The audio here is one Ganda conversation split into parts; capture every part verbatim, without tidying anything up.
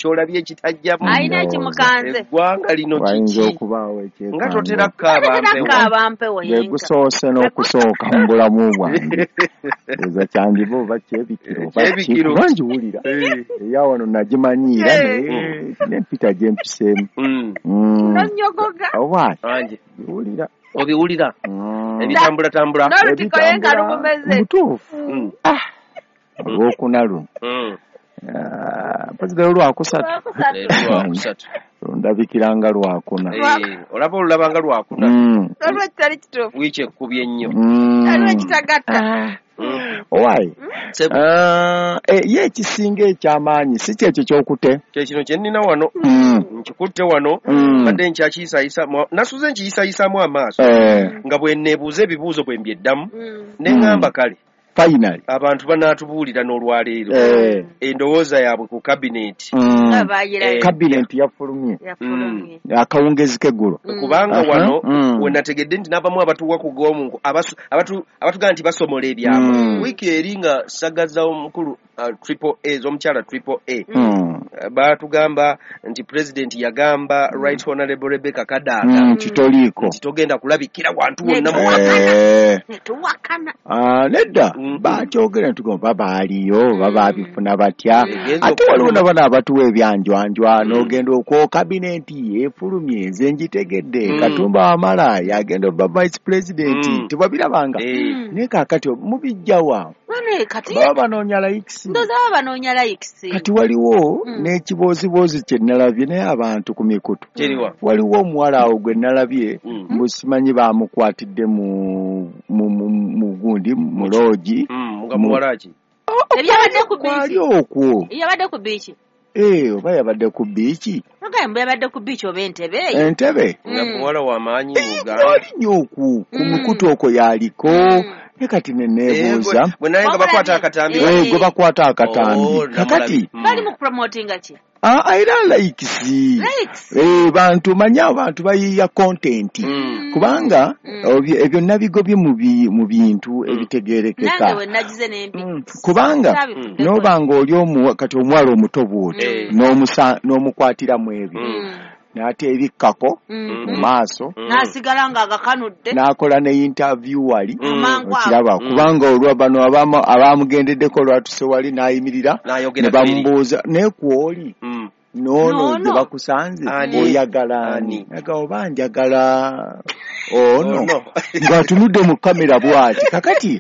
kyolabye ekitajjamu. Alina ekimukanze. Eggwanga lino Wayinza kiki? okubaawo Nga totera ekyekango. kukaaba Tatera mpewo. kukaaba mpewo Gwe yenka. gusoose n'okusooka mu bulamu bwange. Eza kyandiba oba kyebikiro oba ki, Kyebikiro. kuba ngiwulira. Eh. Eya wano nagimanyiira Eh. naye n'empita gye mpiseemu. Mm. Mm. Nonyogoga. Oba Ange ngiwulira. obiwulira Mm. ebitambulatambula. N'olutiko ye nga Ebitambula lumumeze. mutuufu. Mm. Olwokuna luno. Mm. Ah, mpozzi leero lwakusatu. Lwakusatu. Leero lwakusatu. Lundabikira nga lwakuna. Eh, olaba olulaba nga lwakuna. Mm. Waliwo ekitali kituufu. Wiiki ekkubye ennyo. Mm. Waliwo ekitagatta. Mm. Owaaye. Sebo, Ah, eh, ye ekisinga ekyamaanyi si kyekyo ky'okute. kye kino kye nnina wano. Mm. Nkikutte wano. Mm. Mbadde nkyakiyisayisa nasuze nkiyisayisaamu amaaso Eh, nga bwe neebuuza ebibuuzo bwe mbyeddamu Mm. ne ŋŋamba kale finally. abantu banaatubuulira n'olwaleero Eh. endowooza yaabwe ku kabineeti. Mm. Nga baayirayo. Eh. Kabineeti yafulumye Yafulumye. akawungezi k'eggulo. Mm. Kubanga Aha, wano mm. we nategedde nti n'abamu abatuwa ku g'omunku abasu- abatu- abatugamba nti basomola ebyama. Mm. Wiiki eri nga sagaza omukulu uh, triple A z'omukyala triple A Mm. Uh, baatugamba nti pulezidenti yagamba Right Honorable Rebecca Kadaga Mm, kitoliiko. nti togenda kulabikira wantu wonna mu Eh. Netuwakana. Ah, nedda Mm. bakyogera ne tugamba baaliyo oba baabifuna batya. Egenza Ate waliwo okufuluma. na bano abatuwa ebyanjwanjwa Mm. n'ogenda okwo kabineeti efulumye nze ngitegedde Mm. Katumba Wamala yagenda obba vice president Mm. tewabirabanga. Eh, Naye kaakati mubijjawa Bane kati baba banoonya likes. ndowooza baba banoonya likes. Kati waliwo Mm. n'ekibooziboozi kye nalabye naye abantu ku mikutu. Kiriwa. Waliwo omuwala awo gwe nalabye Mm. mbu simanyi baamukwatidde mu mu mu mu gundi mu loogi. Mm, nga Mu- muwala ki? Ebyabadde ku Kwali biiki. okwo. Yabadde ku biiki. Eh, oba yabadde ku biiki. Nogambye mbu yabadde ku biiki oba entebe eyo. Entebe. Nga Mm. muwala w'amaanyi mu Uganda. Kwali nnyo okwo ku Mm. mukutu okwo yaliko. Mm. Naye kati ne Eh, neebuuza. gwe- gwe naye nga bakwata akatambi. Eh. Eh, gwe bakwata Oh, akatambi. namulabi. Kakati Mm. Bali mu kupromotinga ki? ah, era likes. Likes. Eh, bantu manyi abantu bayiiya content. Mm. Kubanga Mm. obyo- ebyo nabigobye mu bi- mu bintu Mm. ebitegeerekeka. Nange we nagize n'embi. Mm, kubanga Saabifuddeko. n'oba ng'oli omuwa kati omuwala omuto bw'oti Eh. n'omusa n'omukwatira mu ebyo Mm. n'ate ebikkako Mm. mu maaso Mm. N'asigala ng'agakanudde. n'akola ne interview wali Mm. Mangu ago. okiraba Mm. kubanga olwa bano abamu- abamugendeddeko olwatuse wali n'ayimirira N'ayogera ne bamubuuza naye kw'oli Mm. n'ono N'ono. gye bakusanze Ani? oyagala ani Ani? aga oba njagala ono Ono. ng'atunudde mu kamera bw'ati kakati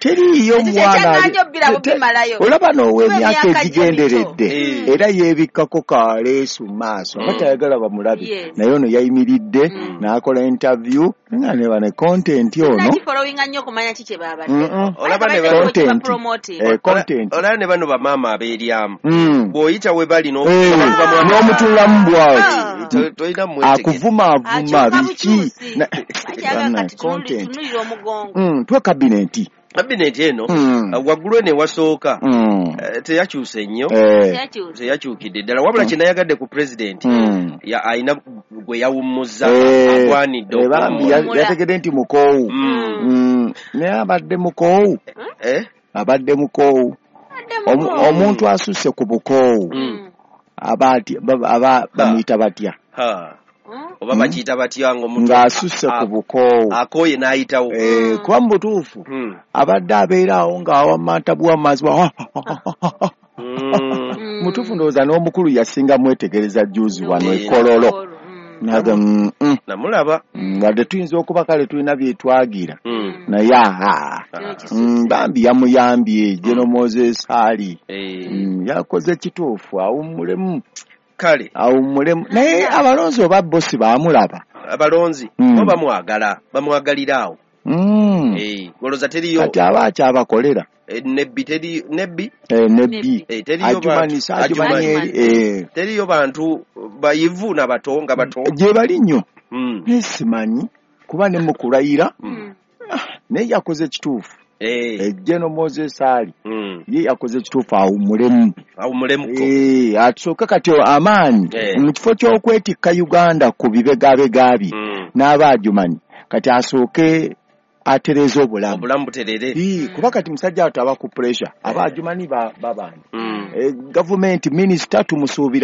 teriiyo Ekyo mwana ali- kyekyannaanya obbira te- te- bubimalayo. olaba n'ow'emyaka Kuba emyaka egigenderedde gye mito. era yeebikkako kaleesu mu maaso nga Mm. tayagala bamulabe Yes. naye ono yayimiridde Mm. n'akola interview nga ne bane content ono Nagifollowinga nnyo okumanya ki kye baabadde. Mm-mm. Olaba ne Balabadde ba- Content. bapromoting. Eh, content Olaba ne bano bamaama abeeryamu. Mm. Bw'oyita we bali Eh, n'okubamu n'omutunulamu bw'ati Ah. tolina mwetegere. akuvumaavuma Akyuka biki bukyusi. Na- Bakyaga Bana, kati tunuuli- content tunuulira omugongo. Mm, tuwe kabineeti Kabineeti eno Mm. uh, waggulu eno ewasooka Mm. eh, teyakyuse nnyo Eh, Teyakyuse. teyakyukidde ddala wabula kye nayagadde ku pulezidenti mm. ya- alina gwe yawummuzza Eh, agwanidde eh, bambi ya- okuwummula. yategedde nti mukoowu Mm. Mm, naye abadde mukoowu Eh? abadde mukoowu Adde Omu- mukoowu. omuntu asusse ku bukoowu Mm. aba atya- ba- aba bamuyita batya Ha. Mm. oba Mm. bakiyita batya ng'omuntu ng'asusse a- ku bukoowu akooye n'ayitawo. Eh, kuba mu butuufu Mm. abadde abeera awo ng'awammanta buwammazi bwa Mm. Mm. mutuufu ndowooza n'omukulu yasinga mwetegereza juzi wano Eh. e Kololo Mm. naga mm, mm, namulaba. mm, wadde tuyinza okuba kale tulina byetwagira Mm. naye aha Kino Ah. kisusse. Mm, bambi yamuyambye General Moses Ali Eh. Mm, yakoze kituufu awummulemu Kale awummulemu naye abalonzi oba bosi baamulaba abalonzi Mm. bo bamwagala bamwagalira awo. Mm. Eh, olowooza teriyo kati aba akyabakolera eh, nebbi teri nebbi Eh, nebbi eh, teriyo bantu ajumanisa ajumani Ajumani. eri eh, teriyo bantu bayivu n'abato nga bato. gye bali nnyo Mm. naye simanyi kuba ne mu kulayira Mm. naye yakoze kituufu Eh. Eh, General Moses Ali Mm. ye yakoze kituufu awummulemu Awummulemuko. Eh, atusooke kati amaanyi Eh. mu kifo ky'okwetikka Uganda ku bibegabega bye Mm. n'abaajumanyi kati asooke atereeze obulamu Obulamu buterere. Ii, kuba kati musajja awo aba ku pressure abaajumanyi ba- babanja Mm. Eh, gavumenti minisita tumusuubira